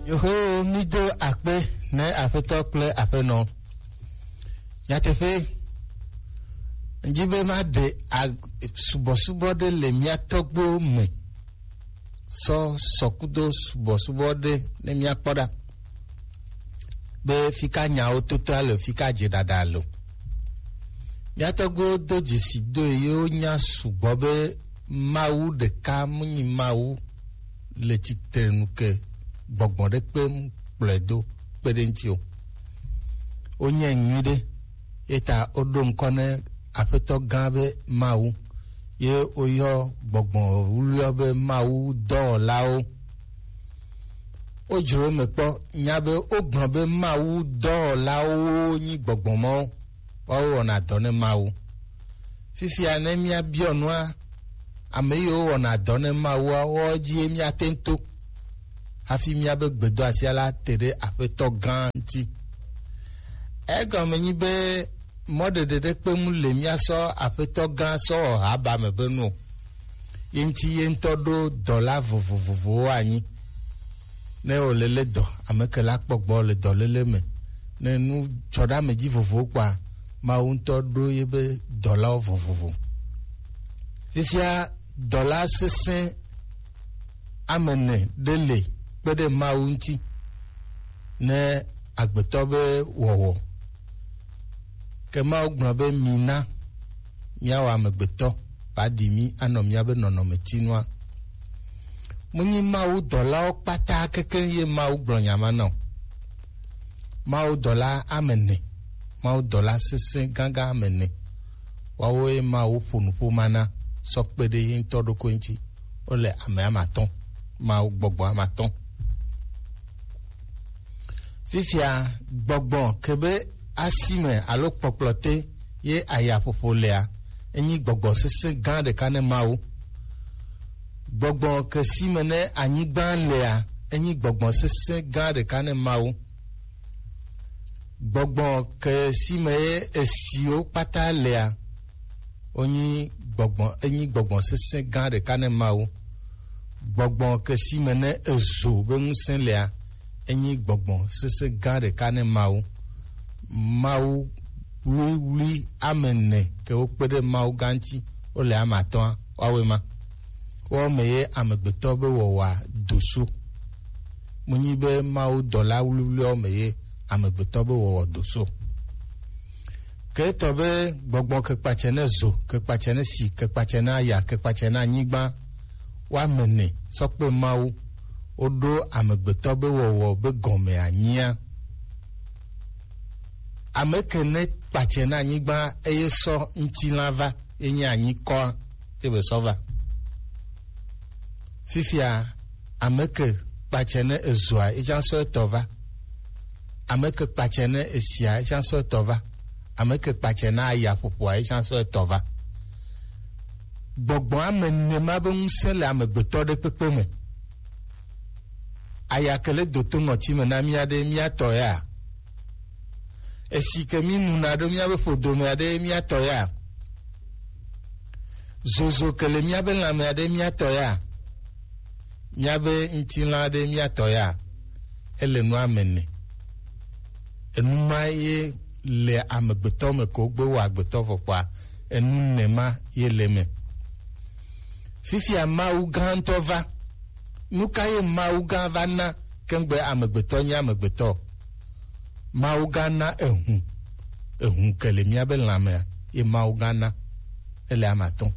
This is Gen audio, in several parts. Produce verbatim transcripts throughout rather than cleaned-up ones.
Yoho, mi do akpe ne Aƒetɔ kple Aƒenɔ. Nyateƒe, ŋdi be maɖe ag-, subɔsubɔ ɖe le mía tɔgbuiwo me. Sɔ sɔkudo subɔsubɔ ɖe ne míakpɔ ɖa. Be fika nyawo totoa le, fika dze ɖaɖa le. Mía tɔgbuiwo do dzesi do eye wonya sugbɔ be Mawu ɖeka mu nyi Mawu le tsitrenu ke gbɔgbɔ ɖe kpe mu kplɔe do kpe ɖe ŋuti o. Wonyae nyuiɖe, ye ta woɖo ŋkɔ ne Aƒetɔ gã be Mawu, ye woyɔ gbɔgbɔ wluiwo be Mawu dɔwɔlawo. Wodzro eme kpɔ, nya be wogblɔ be Mawu dɔwɔlawo nyi gbɔgbɔ mawo, woawo wɔna dɔ ne Mawu. Fifia ne míabiɔ nua, ame yiwo wɔna dɔ ne Mawua, woawo dzie míate ŋu to hafi míabe gbedoasia la te ɖe Aƒetɔ gã ŋuti. Egɔme nyi be mɔɖeɖe ɖe kpe ŋu le míasɔ Aƒetɔ gã sɔ wɔ haba me be nu o. Ye ŋuti ye ŋutɔ ɖo dɔla vovovovowo anyi. Ne wòle le dɔ, ame ke la kpɔ gbɔ le dɔléle me. Ne nu dzɔ ɖe ame dzi vovovo kpɔa, Mawu ŋutɔ ɖo ye be dɔlawo vovovo. Fifia dɔla sesẽ ame ene ɖe le kpe ɖe Mawu ŋuti ne agbetɔ be wɔwɔ. Ke Mawu gblɔ be, mina míawɔ amegbetɔ, va ɖi mí anɔ míabe nɔnɔmetinua. Menyi Mawu dɔlawo kpata kekeŋ ye Mawu gblɔ nya ma na o. Mawu dɔla ame ene, Mawu dɔla sesẽ gãgã ame ene. Woawoe Mawu ƒo nuƒo ma na sɔ kpe ɖe ye ŋutɔ ɖokui ŋuti. Wole ame ame atɔ̃, Mawu gbɔgbɔ ame atɔ̃. Fifia gbɔgbɔ ke be asime alo kpɔkplɔte ye ayaƒoƒo lea, enyi gbɔgbɔ sesẽ gã ɖeka ne Mawu. Gbɔgbɔ ke si me ne anyigba lea, enyi gbɔgbɔ sesẽ gã ɖeka ne Mawu. Gbɔgbɔ ke si me ye esiwo kpata lea, wonyi gbɔgbɔ, enyi gbɔgbɔ sesẽ gã ɖeka ne Mawu. Gbɔgbɔ ke si me ne ezo be ŋusẽ lea, enyi gbɔgbɔ sesẽ gã ɖeka ne Mawu. Mawu wluiwlui ame ene ke wokpe ɖe Mawu gã ŋuti, wole ame atɔ̃a, woawoe ma. Woawo me ye amegbetɔ be wɔwɔa do so. Menyi be Mawu dɔla wluiwluiawo me ye amegbetɔ be wɔwɔ do so. Ke etɔ be gbɔgbɔ ke kpatsɛ ne zo, ke kpatsɛ ne si, ke kpatsɛ ne aya, ke kpatsɛ ne anyigba, woame ene sɔ kpe Mawu, woɖo amegbetɔ be wɔwɔ be gɔme anyia. Ame ke ne kpatsɛ ne anyigba eye sɔ ŋutilã va, ye nye anyikɔa, ye be sɔ va. Fifia, ame ke kpatsɛ ne ezoa, etsã sɔ etɔ va. Ame ke kpatsɛ ne esia, etsã sɔ etɔ va. Ame ke kpatsɛ ne aya ƒoƒoa, etsã sɔ etɔ va. Gbɔgbɔ ame ene ma be ŋusẽ le amegbetɔ ɖe kpekpe me. Aya ke le doto ŋɔti me na mía ɖe mía tɔ ya. Esi ke mí nuna ɖo míabe ƒodomea ɖe mía tɔ ya. Zozo ke le míabe lãmea ɖe mía tɔ ya. Míabe ŋutilã ɖe mía tɔ ya. Ele nu ame ene. Enu ma ye le amegbetɔ me ko gbe wɔ agbetɔ vɔ kpɔa, enu ene ma ye le me. Fifia Mawu gã ŋutɔ va. Nu ka ye Mawu gã va na kengbe amegbetɔ nye amegbetɔ? Mawu gã na ehu. Ehu ke le míabe lãmea, ye Mawu gã na. Ele ame atɔ̃.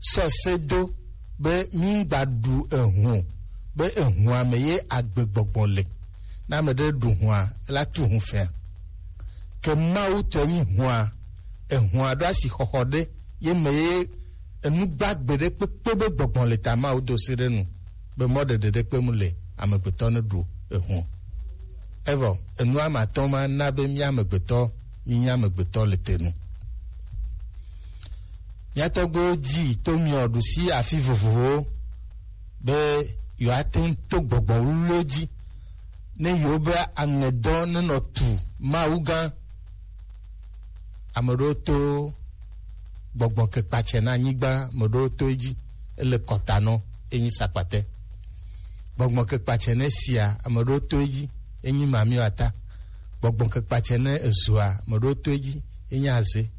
Sɔ se do be míŋgba ɖu ehu o, be ehua me ye agbegbɔgbɔ le. Ne ame ɖe ɖu hua, ela tu hu fɛa. Ke Mawu tɔe nyi hua, ehua ɖo asixɔxɔ ɖe ye me ye enu gbagbe ɖe kpekpe be gbɔgbɔ le ta Mawu do se ɖe nu, be mɔɖeɖe ɖe kpe mu le amegbetɔ ne ɖu ehu. Evɔ, enu ame atɔ̃ ma na be mía amegbetɔ, mí nye amegbetɔ le te nu. Mía tɔgbuiwo dzi to miɔ ɖusi afi vovovowo be yewoate ŋu to gbɔgbɔ wluwluwo dzi ne yewobe aŋɛdɔ nenɔ tu Mawu gã. Ame ɖewo to gbɔgbɔ ke kpatsɛ na anyigba, ame ɖewo to edzi, ele kɔta nɔ, enyi sakpatɛ. Gbɔgbɔ ke kpatsɛ ne sia, ame ɖewo to edzi, enyi mamiwata. Gbɔgbɔ ke kpatsɛ ne ezua, ame ɖewo to edzi, enyi aze.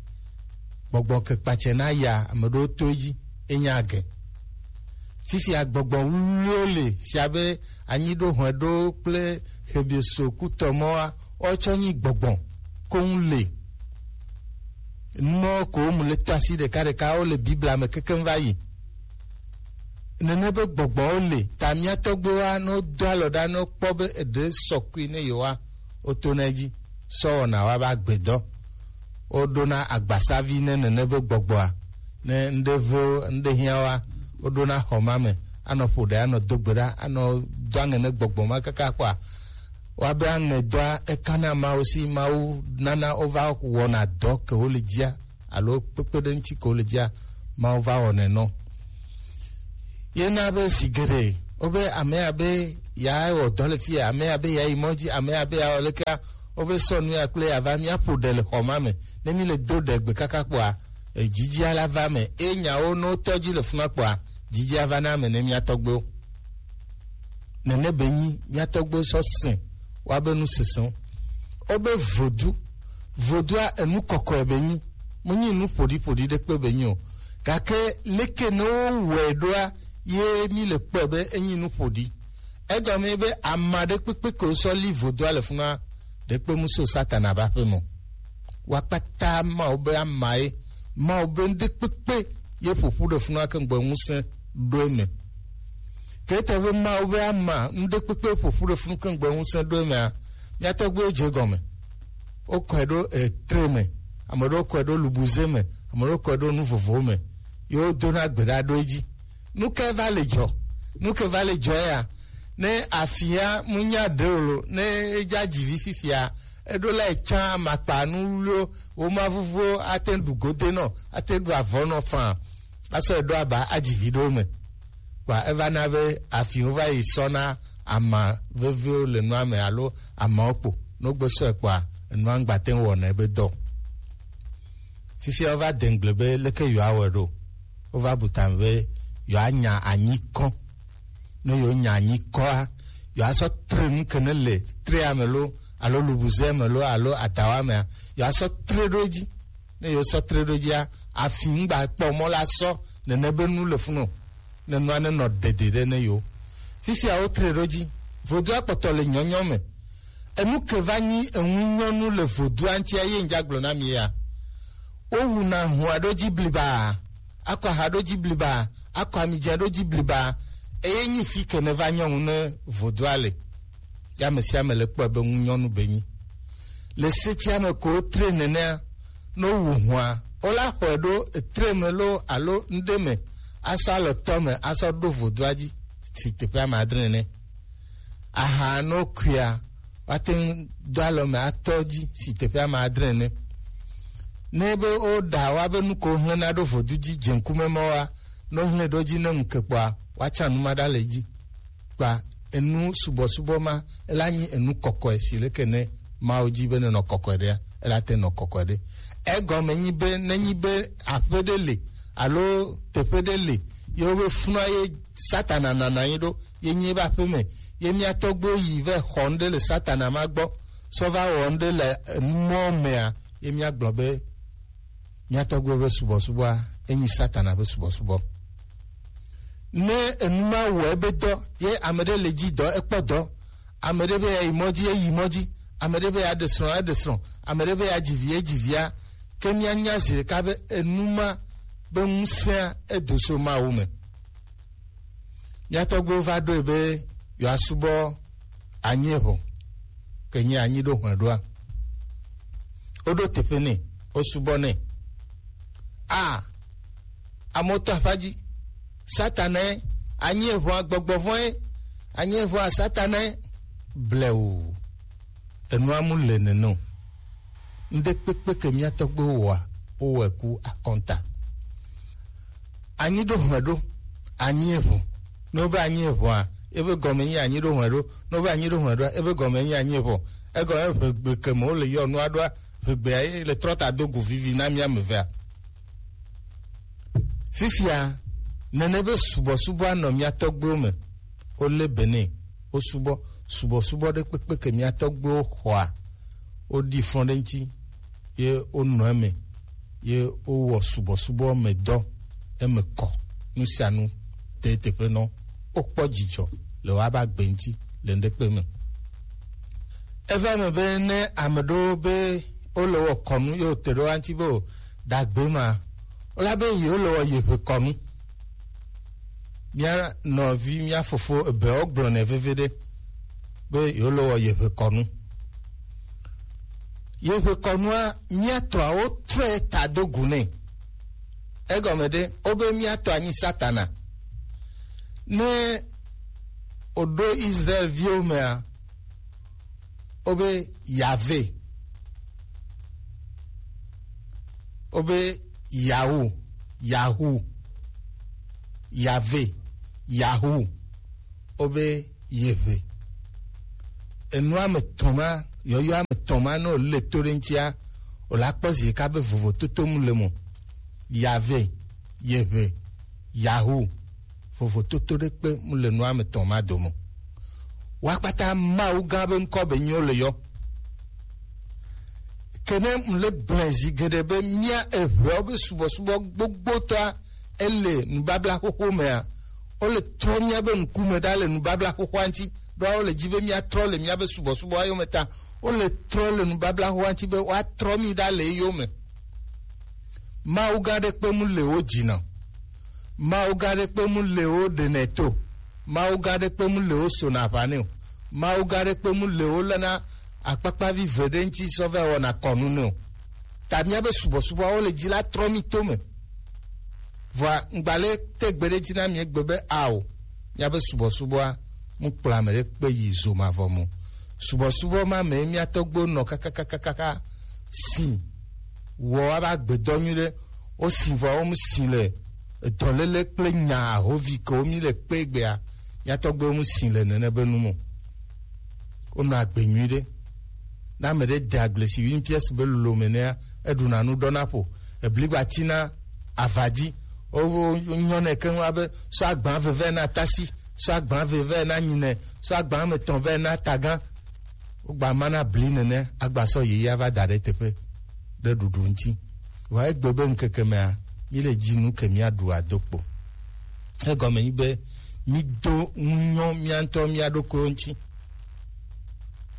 Gbɔgbɔ ke kpatsɛ ne aya, ame ɖewo to edzi, enyi age. Fifia gbɔgbɔ wluwluwo le si abe anyi ɖo hɔe ɖo kple hebieso kutɔ mɔwoa, woawo tsɔ nyi gbɔgbɔ koŋ le. Numɔ ko mu le to asi ɖekaɖeka, wo le Biblia me kekeŋ va yi. Nene be gbɔgbɔwo le, ta mía tɔgbuiwoa, ne wodo alɔ ɖa, ne wokpɔ be eɖe sɔkui ne yewoa, wotona edzi sɔ wɔna woa be agbedɔ. Woɖona agbasavi ne nene be gbɔgbɔa, ne ŋɖe ve wo, ŋɖe hiã woa, woɖona xɔ ma me, anɔ ƒo ɖe, anɔ do gbe ɖa, anɔ do aŋe ne gbɔgbɔ ma kaka kpɔa, woabe aŋedɔa ekana Mawu si, Mawu nana wova wɔna dɔ ke wole dzia, alo kpekpeɖeŋutsi ke wole dzia, Mawu va wɔnɛ nɔ. Ye na be zi geɖe, wobe ame ya be ya wɔ dɔ le fi ya, ame ya be ya yi mɔ dzi, ame ya be ya wɔ lekea, wobe sɔ nu ya kple ya va, míaƒo ɖe le xɔ ma me. Ne mi le do ɖe gbe kaka kpɔa, e, dzidzia la va me. Eye nyawo ne wotɔ dzi le funa kpɔa, dzidzia va na ame ne mía tɔgbewo. Nene be nyi mía tɔgbewo sɔ sẽ woabe nu sesẽwo. Wobe vodu, vodua enu kɔkɔe be nyi, menyi nu ƒoɖiƒoɖi ɖekpe be nyi o. Gake leke ne wowɔe ɖoa, ye mi le kpɔe be enyi nu ƒoɖi. Egɔme be ame aɖe kpekpe ke wosɔ li vodua le funua, ɖekpe mu so Satana ƒe aƒe me o. Wa kpata Mawu be amae, Mawu be ŋɖekpekpe ye ƒoƒu ɖe funua ke ŋgbe ŋusẽ ɖo eme. Ke etɔ be Mawu be ama ŋɖekpekpe ƒoƒu ɖe funu ke ŋgbe ŋusẽ ɖo emea, mía tɔgbuiwo dze egɔme. Wokɔe ɖo, e, tre me, ame ɖewo kɔe ɖo lubuze me, ame ɖewo kɔe ɖo nu vovowo me, ye wodona gbe ɖa ɖo edzi. Nu kae va le dzɔ? Nu ke va le dzɔ ya? Ne afia mu nya ɖe o lo, ne edza dzi vi fifia, eɖo la etsã amakpa nu wluwo, wo ma vuvuwo ate ɖu gode nɔ, ate ɖu avɔ nɔ faa, asɔ eɖo aba adzi vi ɖewo me. Kpa eva na be afiwo va yi sɔ na ama veviwo le nua me alo amawo kpo. No gbe sɔe kpɔa, enua ŋgba te ŋu wɔna ebe dɔ. Fifia wova de ŋgble be leke yewoawɔe ɖo. Wova bu tame be yewoanya anyi kɔ. Ne yewonya anyi kɔa, yewoasɔ tre nu ke ne le trea me lo, alo lubuzea me lo, alo adawa mea, yewoasɔ tre ɖo edzi. Ne yewosɔ tre ɖo edzia, afi ŋgba kpɔ mɔ la sɔ nene be nu le funu o. Ne nua nenɔ dede ɖe ne yewo. Fifia wotre ɖo edzi. Vodua kpɔtɔ le nyɔnyɔ me. Enu ke va nyi eŋunyɔnu le vodua ŋutia ye ŋdza gblɔ na mi ya. Wowuna hua ɖo dzi bliba, akɔ aha ɖo dzi bliba, akɔ amidzɛ ɖo dzi bliba, eye nyi fi ke ne va nyɔnu ne vodua le. Ya ame sia ame le kpɔe be ŋunyɔnu be nyi. Le setia me ko wotre nenea, ne wowu hua, wola xɔe ɖo etre me lo alo ŋɖe me, asɔ alɔtɔ me, asɔ ɖo vodua dzi si teƒe ame adre nene. Aha ne wokuia, woate ŋu do alɔ me atɔ dzi si teƒe ame adre nene. Ne be woɖa woabe nu ko wohlẽna ɖo vodu dzi dze ŋkume mɔ wa, ne wohlẽ ɖo dzi ne ŋu ke kpɔa, woatsã nu ma ɖa le dzi. Kpa enu subɔsubɔ ma, ela nyi enu kɔkɔe si leke ne Mawu dzi be nenɔ kɔkɔe ɖea, ela te nɔ kɔkɔe ɖe. Egɔme nyi be, nenyi be aƒe ɖe le alo teƒe ɖe le, ye wobe funua ye Satana nana anyi ɖo, ye nyi ebe aƒe me, ye mía tɔgbuiwo yi vɛ xɔ ŋɖe le Satana ma gbɔ, sɔ va wɔ ŋɖe le enu mɔ mea, ye mía gblɔ be mía tɔgbuiwo be subɔsubɔa, enyi Satana be subɔsubɔ. Ne enu ma wɔ ebe dɔ, ye ame ɖe le dzi dɔ, ekpɔ dɔ. Ame ɖe be ya yi mɔ dzi, eyi mɔ dzi. Ame ɖe be ya ɖe srɔ̃, eɖe srɔ̃. Ame ɖe be ya dzi vi, edzi via. Ke mía nya zi ɖeka be enu ma be ŋusẽa edo so Mawu me. Mía tɔgbuiwo va ɖoe be yewoasubɔ anyi eʋɔ, ke nyi anyi ɖo hɔe ɖoa. Woɖo teƒe nɛ, wosubɔ nɛ. A, amewo to aƒa dzi. Satanae, anyi eʋɔa gbɔgbɔ vɔ̃e, anyi eʋɔa Satanae, blewu. Enua mu le nene o. Ŋɖe kpekpe ke mía tɔgbuiwo wɔa, wowɔe ku akɔnta. Anyi ɖo hɔe ɖo, anyi eʋɔ. Ne wobe anyi eʋɔa, ebe gɔme nyi anyi ɖo hɔe ɖo. Ne wobe anyi ɖo hɔe ɖoa, ebe gɔme nyi anyi eʋɔ. Egɔme ʋegbe ke me wole yɔ nua ɖoa, ʋegbea ye le trɔ ta do go vivi na mía ame evea. Fifia, nene be subɔsubɔa nɔ mía tɔgbuiwo me. Wo le be ne wo subɔ, subɔsubɔ ɖe kpekpe ke mía tɔgbuiwo xɔa, wo ɖi fɔn ɖe ŋuti, ye wo nɔ eme, ye wo wɔ subɔsubɔ me dɔ, eme kɔ, nu sia nu te teƒe nɔ, wo kpɔ dzidzɔ le wo aba gbe ŋuti le ŋɖekpe me. Eva me be ne ame ɖewo be wo le wɔ kɔnu ye wo te ɖe wo ŋuti be o ɖagbe ma, wo la be yewo le wɔ yeƒe kɔnu. Mía nɔvi, mía fofo ebe wo gblɔ nɛ veve ɖe be yewo le wɔ yeƒe kɔnu. Yeƒe kɔnua, mía tɔa wo trɔe ta do gu nɛ. Egɔme ɖe, wo be mía tɔa nyi Satana. Ne o ɖo Israel viwo mea, wo be Yave, wo be Yahu, Yahu, Yave, Yahu, wo be Yeʋe. Enu ame tɔn ma, yɔyɔ ame tɔn ma, ne o le to ɖe ŋutia, o la kpɔ zi ɖeka be vovototo mu le mo. Yave, Yeʋe, Yahu, vovototo ɖe kpe mu le nu ame tɔn ma dome o. Wa kpata Mawu gã be ŋkɔ be nyi wo le yɔ. Ke ne mu le gblẽ zi geɖe be mía eʋeawo be subɔsubɔ gbogbotɔa ele nubabla xoxo mea, wo le trɔ mía be ŋkume ɖa le nubabla xoxoa ŋuti, ɖo wo le dzi be mía trɔ le mía be subɔsubɔa yome ta. Wo le trɔ le nubabla xoxoa ŋuti be woa trɔ mí ɖa le eyome. Mawu gã ɖe kpe mu le wo dzi na o. Mawu gã ɖe kpe mu le wo ɖenɛ to. Mawu gã ɖe kpe mu le wo sona aʋa nɛ o. Mawu gã ɖe kpe mu le wo lena akpakpavi ve ɖe ŋuti sɔ va wɔna kɔnu nɛ o. Ta mía be subɔsubɔa wo le dzi la trɔ mí to me. Vɔa ŋgba le te gbe ɖe dzi na mí egbe be ao, mía be subɔsubɔa mu kplɔ ame ɖe kpe yi zo mavɔ mo. Subɔsubɔ ma me mía tɔgbuiwo nɔ kakakakaka si wɔ ava gbedɔ nyuiɖe. Wo si vɔ wo mu si le edɔlele kple nya ahovi ke wo mi le kpe gbea, mía tɔgbuiwo mu si le nene be nu mo. Wonɔ agbe nyuiɖe. Ne ame ɖe de agble si huit pièces be lolo me nɛa, eɖuna nu ɖɔna ƒo. Ebligba tina ava dzi. Wo, wo, wo nyɔnɛ keŋ wa be sɔ agba veve na tasi, sɔ agba veve na nyinɛ, sɔ agba me tɔn ve na tagan. Wogba ma na bli nene, agba sɔ yeye ava da ɖe teƒe ɖe ɖuɖu ŋuti. Vɔa egbe be ŋkeke mea, mí le dzi nu ke mía ɖu ado kpo. Egɔme nyi be mí do ŋunyɔ mía ŋutɔ mía ɖokuiwo ŋuti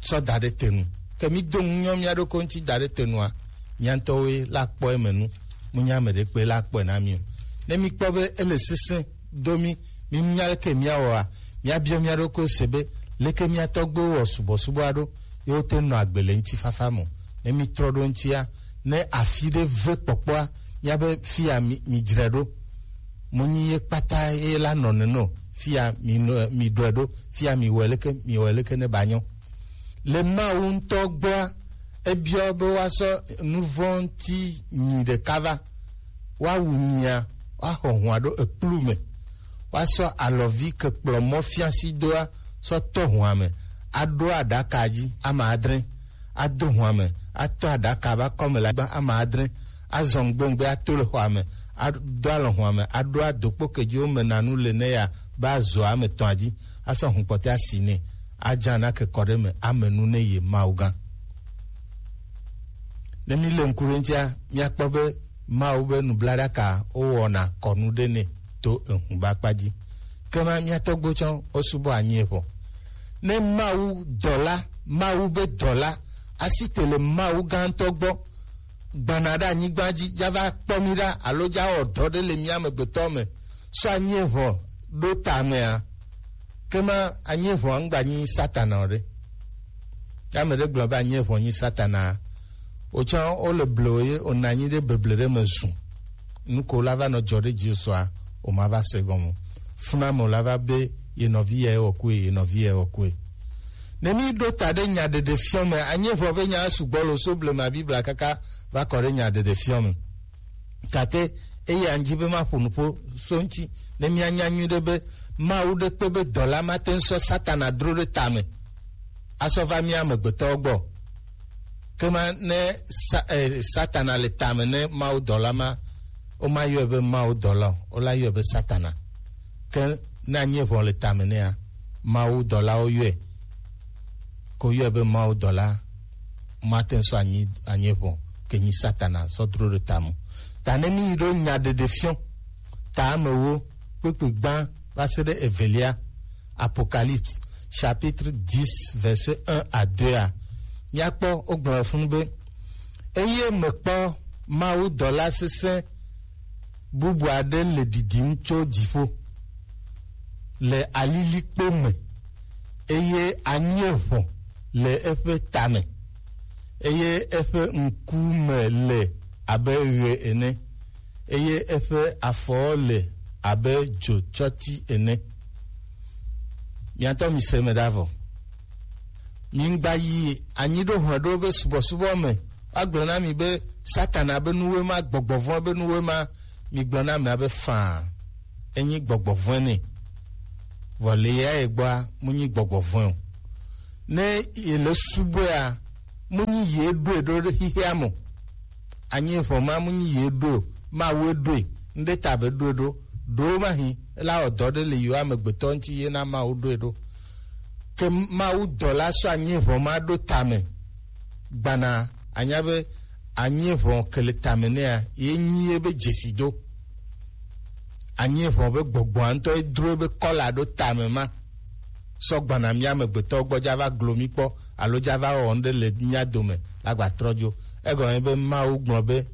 sɔ da ɖe te nu. Ke mí do ŋunyɔ mía ɖokuiwo ŋuti da ɖe te nua, mía ŋutɔwoe la kpɔ eme nu. Mu nya ame ɖe kpe la kpɔe na mí o. Ne mí kpɔ be ele sesẽ do mí, mí nya leke mía wɔa, mía biɔ mía ɖokuiwo se be leke mía tɔgbuiwo wɔ subɔsubɔa ɖo, ye wote nɔ agbe le ŋutifafa me o. Ne mí trɔ ɖo ŋutia, ne afi ɖe ve kpɔkpɔa, mía be fia mi, mi dzre ɖo. Mu nyi ye kpata ye la nɔ nene o. Fia mi nɔ, mi ɖɔe ɖo. Fia mi wɔ leke, mi wɔ leke ne ba nyɔ. Le Mawu ŋutɔ gbɔa, ebiɔ be woasɔ nuvɔ̃ ŋuti nyi ɖeka va. Woawu nyia, woaxɔ hũa ɖo ekplu me. Woasɔ alɔvi ke kplɔ mɔ fiasi doa sɔ tɔ hũa me, aɖo aɖaka dzi ame adre, ado hũa me, atɔ aɖaka be akɔme le anyigba ame adre, azɔ ŋgbengbe ato le xɔa me, ado alɔ hũa me, aɖo adokpo ke dzi womena nu le ne ya be azɔ ame etɔ̃a dzi, asɔ hũ kpɔtɔe asi nɛ, adza nake kɔ ɖe eme, ame nu ne ye Mawu gã. Ne mí le ŋku ɖe ŋutia, míakpɔ be Mawu be nublaɖaka wowɔna kɔnu ɖe nɛ to ehũ be akpa dzi. Ke ma mía tɔgbuiwo tsã wosubɔ anyi eʋɔ. Ne Mawu dɔla, Mawu be dɔla, asi te le Mawu gãtɔ gbɔ, gbana ɖe anyigba dzi, dza va kpɔ mí ɖa alo dza wɔ dɔ ɖe le mía amegbetɔ me, sɔ anyi eʋɔ ɖo ta mea, ke ma anyi eʋɔ ŋgba nyi Satana o ɖe. Ke ame ɖe gblɔ be anyi eʋɔ nyi Satana, wotsã wole ble wo ye wònɔ anyi ɖe beble ɖe me zu. Nu ko la va nɔ dzɔ ɖe dzi sɔa, wòma va se gɔme o. Funa me wòla va be ye nɔvi ya ewɔ kue, ye nɔvi ya ewɔ kue. Ne mí ɖo ta ɖe nyaɖeɖefiɔ me, anyi eʋɔ be nya sugbɔ lo so blema Biblia kaka va kɔ ɖe nyaɖeɖefiɔ me. Gake eya ŋdi be maƒo nuƒo so ŋuti ne míanya nyuiɖe be Mawu ɖe kpe be dɔla mate ŋu sɔ Satana dro ɖe tame asɔ va mía amegbetɔwo gbɔ. Ke ma ne sa, eh, Satana le tame ne Mawu dɔla ma, womayɔe be Mawu dɔla o, wola yɔe be Satana. Ke ne anyi eʋɔ le tame nɛa, Mawu dɔlawo yɔe, ko yɔe be Mawu dɔla, mate ŋu sɔ anyi, anyi ʋɔn ke nyi Satana sɔ dro ɖe tame. Ta ne mi yi ɖo nya ɖeɖe fiɔ, ta ame wo kpekpe gbã va se ɖe evelia, Apocalypse chapitre dix verset un à deux a, míakpɔ wogblɔ le funu be, eye mekpɔ Mawu dɔla sesẽ bubu aɖe le ɖiɖim tso dziƒo le alilikpo me, eye anyi eʋɔn le eƒe tame, eye eƒe ŋkume le abe ɣe ene, eye eƒe afɔwo le abe dzotsɔti ene. Miatɔ mise me ɖa vɔ. Migba yi anyi ɖo hlɔ̃ ɖo be subɔsubɔ me. Woagblɔ na mi be Satana be nuwoe ma, gbɔgbɔ vɔ̃ be nuwoe ma. Migblɔ na amea be faa, enyi gbɔgbɔ vɔ̃e nɛ. Vɔ le ya ye gbɔa, mu nyi gbɔgbɔ vɔ̃e o. Ne yele subɔea, mu nyi ye ɖoe ɖo ɖe xixea me o. Anyi ʋɔn ma mu nyi ye ɖoe o, Mawu ɖoe, ŋɖe ta be ɖoe ɖo, ɖo ma hi, ela wɔ dɔ ɖe le yewo amegbetɔ ŋuti ye na Mawu ɖoe ɖo. Ke Mawu dɔla sɔ anyi ʋɔn ma ɖo tame, gbana anya be anyi ʋɔn ke le tame nɛa, ye nyi ye be dzesi do. Anyi ʋɔn be gbɔgbɔa ŋutɔ ye dro be kɔla ɖo tame ma. Sɔ gbana mía amegbetɔwo gbɔ dza va glo mí kpɔ alo dza va wɔ nu ɖe le mía dome la gba trɔ dzo. Egɔme be Mawu gblɔ be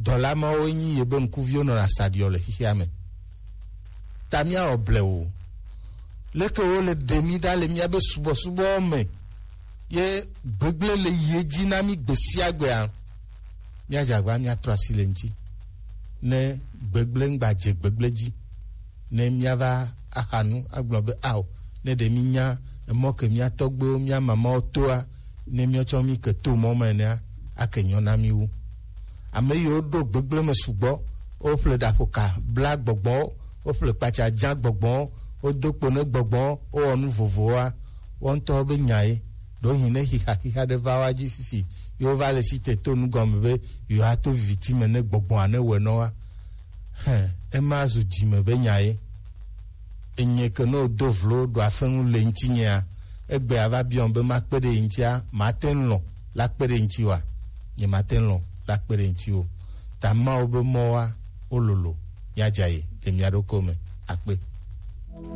dɔla mawo nyi ye be ŋkuviwo nɔna sa ɖiɔ le xixea me. Ta míawɔ blewu. Leke wo le ɖe mí ɖa le míabe subɔsubɔwo me ye gbegblẽ le yi edzi na mí gbe sia gbea? Míadze agba míatrɔ asi le ŋuti. Ne gbegblẽ ŋgba dze gbegblẽ dzi, ne míava axa nu agblɔ be ao, ne ɖe mínya emɔ ke mía tɔgbuiwo, mía mamawo toa, ne míatsɔ mí ke to mɔ me enea, ake nyɔ na mí wu. Ame yiwo ɖo gbegblẽ me sugbɔ, woƒle ɖaƒoka bla gbɔgbɔwo, woƒle kpatsa dza gbɔgbɔwo, wodo kpo ne gbɔgbɔwo, wowɔ nu vovowoa, woawo ŋutɔwo be nya ye. Ɖewohĩ ne xixa xixa ɖe va woa dzi fifi, ye wova le si te to nu gɔme be yewoato viviti me ne gbɔgbɔa ne wɔe nɔ wa. Hẽ, ema zu dzime be nya ye. Enye ke ne wodo vlo ɖo afenu le ŋutinyea, egbe ava biɔm be makpe ɖe ye ŋutia, mate ŋu lɔ̃ la kpe ɖe ŋutiwòa? Nye mate ŋu lɔ̃ la kpe ɖe ŋutiwò. Ta Mawu be mɔwoa, wololo, míadza ye le mía ɖokuiwo me. Akpe.